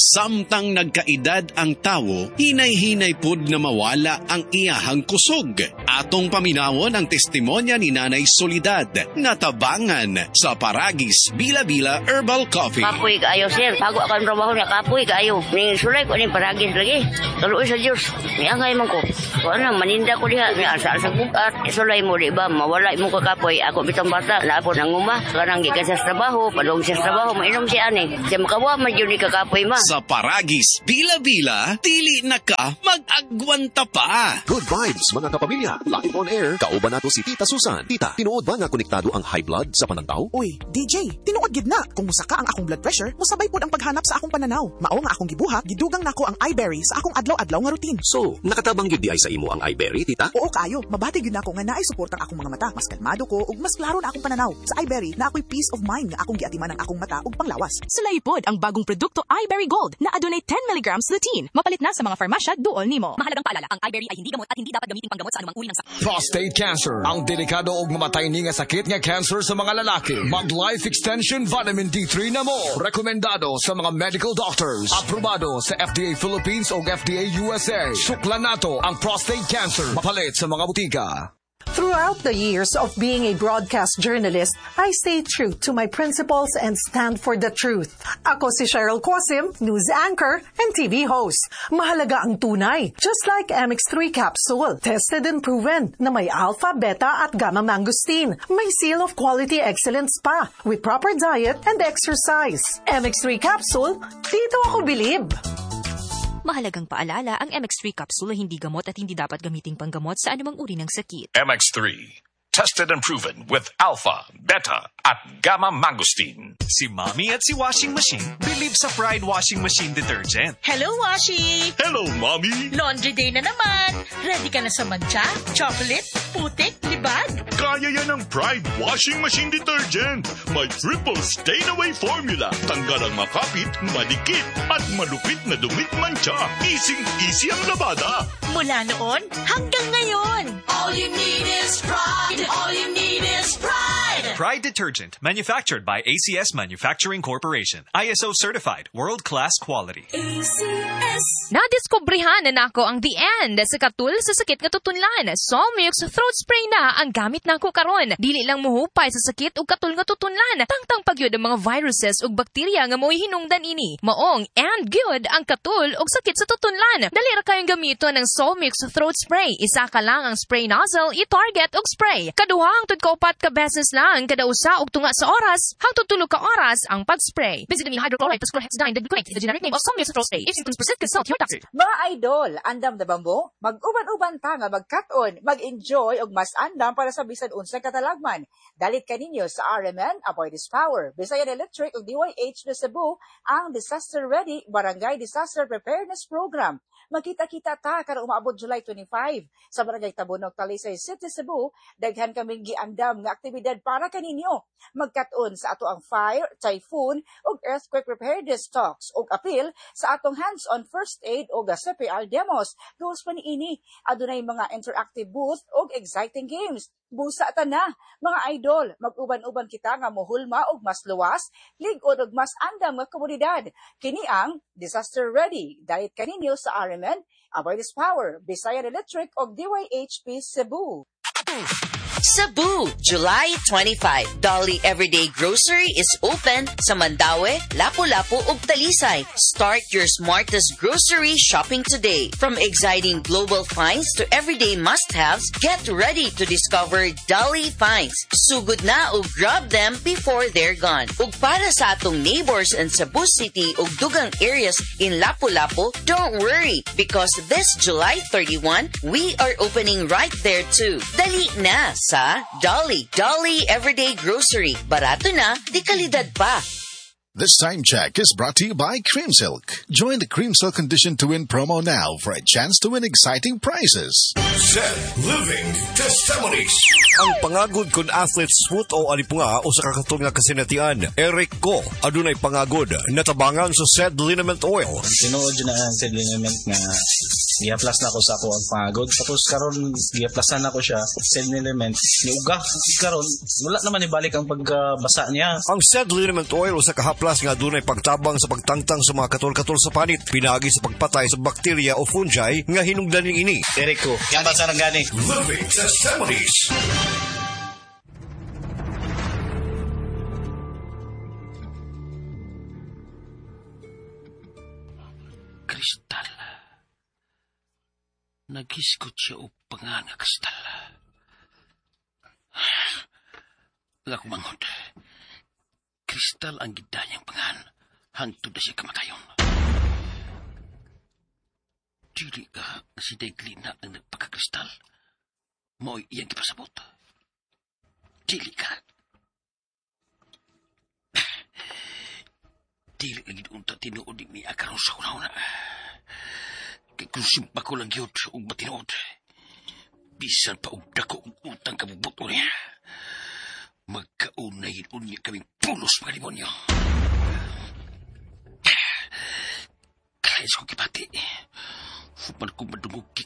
Samtang nagkaedad ang tawo, hinay-hinay pud na mawala ang iyahang kusog. Atong paminawon ang testimonya ni Nanay Solidad, natabangan sa Paragis Bila-Bila Herbal Coffee. Kapoy kaayo, sir. Bago ako ang trabaho niya, kapoy kaayo. Ning sulay ko ning Paragis lagi. Kaluoy sa Dios. Miangay man ko. Kuan na maninda ko diha, mi asa sa bugat. Sulay mo, di ba? Mawala mo kakapoy. Ako bitong bata, na ako nanguma. Kanang gikan sa trabaho, padung sa trabaho, mainom siya ani. Siya makawa man jud ni kakapoy ma. Sa Paragis Bila-Bila, dili na ka mag-agwanta pa. Good vibes, mga kapamilya. Live on air, kauban nato si Tita Susan. Tita, tinuod ba nga konektado ang high blood sa panantaw? Uy, DJ, tinuod gid na. Kung musaka ang akong blood pressure, musabay pod ang paghanap sa akong pananaw. Mao nga akong gibuhat, gidugang nako ang iBerry sa akong adlaw-adlaw nga routine. So, nakatabang gid diay sa imo ang iBerry, Tita? Oo kaayo, mabati gyud nako nga naay suportang akong mga mata. Mas kalmado ko ug mas klaro na akong pananaw. Sa iBerry, naa ko'y peace of mind nga akong giatiman ang akong mata ug panglawas. Sulay pod ang bagong produkto iBerry Gold na adunay 10 mg lutein. Mapalit na sa mga farmasya duol nimo. Mahalagang paalala, ang iBerry ay hindi gamot at hindi dapat gamitin panggamot sa anumang uri ng sakit. Prostate cancer, ang delikado og mamatay ni nga sakit nga cancer sa mga lalaki. Mag Life Extension Vitamin D3 na mo. Rekomendado sa mga medical doctors. Aprobado sa FDA Philippines o FDA USA. Suklan nato ang prostate cancer. Mapalit sa mga butika. Throughout the years of being a broadcast journalist, I stay true to my principles and stand for the truth. Ako si Cheryl Quasim, news anchor and TV host. Mahalaga ang tunay, just like MX3 capsule, tested and proven na may alpha, beta at gamma mangosteen. May seal of quality excellence pa with proper diet and exercise. MX3 capsule, dito ako bilib. Mahalagang paalala, ang MX3 capsule ay hindi gamot at hindi dapat gamiting panggamot sa anumang uri ng sakit. MX3. Tested and proven with alpha, beta, at gamma mangosteen. Si Mommy at si Washing Machine believe sa Pride Washing Machine Detergent. Hello, Washi! Hello, Mommy! Laundry day na naman! Ready ka na sa mantsa, chocolate, putik, libag? Kaya yan ang Pride Washing Machine Detergent. May triple stain-away formula. Tanggal ang makapit, madikit, at malupit na dumi't mantsa. Easy-easy ang labada. Mula noon hanggang ngayon. All you need is Pride. All you need is Pride. Pride Detergent, manufactured by ACS Manufacturing Corporation. ISO certified, world-class quality. ACS. Nadiskubrehan na nako ang the end sa katul sa sakit nga tutunlan. Solmux throat spray na ang gamit nako karon. Dili lang muhupay sa sakit ug katul nga tutunlan. Tangtang pagyud ang mga viruses ug bakterya nga mo'y hinungdan ini. Maong and good ang katul ug sakit sa tutunlan. Dali ra kayong gamiton ang Solmux throat spray. Isa ka lang ang spray nozzle, i-target ug spray. Kaduha hangtod kaupat ka beses lang kada usa og tunga sa oras hangtod 3 ka oras ang pag-spray. Benzydamine hydrochloride plus chlorhexidine digluconate is the generic name of Solmux throat spray. If symptoms persist, consult your doctor. Mga idol, andam na ba mo? Mag-uban-uban ta nga magkat-on, mag-enjoy og mas andam para sa bisan unsay katalagman. Dalit kaninyo sa RMN, Aboitiz Power, Visayan Electric ug DYH na Cebu ang Disaster Ready Barangay Disaster Preparedness Program. Magkita-kita ta karong umaabot July 25 sa Barangay Tabunok, Talisay City, Cebu. Daghan kaming giandam nga aktibidad para kaninyo. Magkat-on sa ato ang fire, typhoon ug earthquake preparedness talks ug apil sa atong hands-on first aid ug CPR demos. Gawas pa niini, adunay mga interactive booth ug exciting games. Busa ta na, mga idol, mag-uban-uban kita nga mohulma og mas luwas, lig-on og mas andam nga komunidad. Kini ang Disaster Ready. Dalit kaninyo sa RMN, Aboitiz Power, Visayan Electric ug DYHP Cebu. Cebu, July 25. Dolly Everyday Grocery is open sa Mandaue, Lapu-Lapu ug Talisay. Start your smartest grocery shopping today. From exciting global finds to everyday must-haves, get ready to discover Dolly finds. Sugod na ug grab them before they're gone. Ug para sa atong neighbors in Cebu City ug dugang areas in Lapu-Lapu, don't worry because this July 31, we are opening right there too. Dali na sa Dolly. Dolly Everyday Grocery. Barato na, di kalidad pa. This time check is brought to you by Cream Silk. Join the Cream Silk Condition to Win promo now for a chance to win exciting prizes. Set Living Testimonies. Ang pangagod kung athlete's foot o alipunga o sa kakatol nga kasinatian, Eric Ko, adunay pangagod, natabangan sa said liniment oil. Tinuod na ang said liniment nga Gihaplas na ko sa ako ang pangagod. Tapos karon gihaplasan nako siya said liniment niuga. Karon wala naman ibalik ang pagkabasa niya. Ang said liniment oil usa ka haplas nga adunay pagtabang sa pagtangtang sa mga katol-katol sa panit, pinaagi sa pagpatay sa bakterya o fungi nga hinungdan niini. Erico, yan ba sa gani? Living Testimonies. Kristal. Naghisgot siya og pangan nga kristal. Ang akong manghod. Kristal ang gidanyang pangan hangtod na siya kamatayon. Dili ka si Deglina ang nagpakakristal. Mo'y iyang gipasabot. Dili ka. Dili lagi unta tinuod ni Mia karon sa una-una. Kay kung simpa ko lang yun og matinuod. Bisan pa og dako og utang kabubuto niya. Magkaunay unya kaming pulos mga demonyo. Kaya ko kipati. Human ko madungog